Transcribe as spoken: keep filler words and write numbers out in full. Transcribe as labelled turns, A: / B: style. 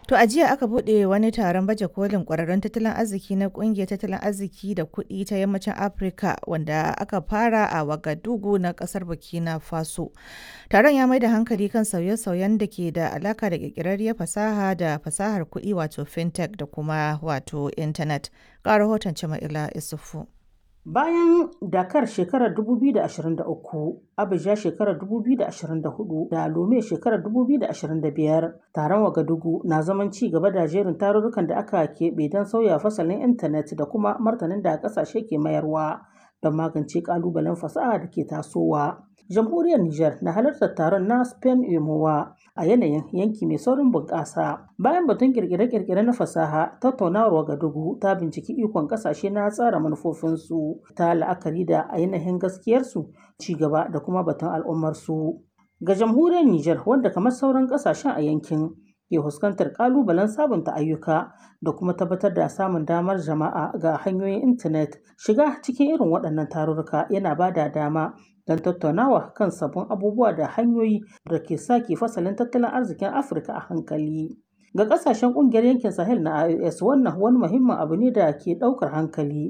A: To a jiya aka buɗe wani taron baje kolin ƙwararrun tattalin arziki na ƙungiyar tattalin arziki da kuɗi ta Yammacin Afirka wanda aka fara a Wagadugu na ƙasar Burkina Faso. Taron ya mai da hankali kan sauye-sauyen da ke da alaka da ƙirƙirarriyar fasaha da fasahar kuɗi wato fintech da kuma wato intanet. Ga rahoton Jama'ila Isufu.
B: Bayan Dakar shekarar dubu biyu da ashirin da uku, Abuja shekarar dubu biyu da ashirin da hudu da Lome shekarar dubu biyu da ashirin da biyar, taron Wagadugu na zaman ci gaba da jerin tarurrukan da aka keɓe don sauya fasalin intanet da kuma martanin da ƙasashe ke mayarwa don magance ƙalubalen fasaha da ke tasowa. Jamhuriyar Nijar na halartar taron na Spain Emowa a yanayin yanki mai saurin bunƙasa. Bayan batun kirkire-kirkire na fasaha, tattaunawar Wagadugu ta binciki ikon ƙasashe na tsara manufofinsu ta la'akari da ainihin gaskiyarsu, ci gaba da kuma batun al'ummarsu. Ga jamhuriyar Nijar, wanda kamar sauran ƙasashen a yankin ke fuskantar ƙalubalen sabunta ayyuka da kuma tabbatar da samun damar jama'a ga hanyoyin intanet, shiga cikin irin waɗannan tarurruka yana ba da dama don tattaunawa kan sabbin abubuwa da hanyoyi da ke sake fasalin tattalin arzikin Afirka a hankali. Ga ƙasashen ƙungiyar yankin Sahel na I O S, wannan wani muhimmin abu ne da ke ɗaukar hankali.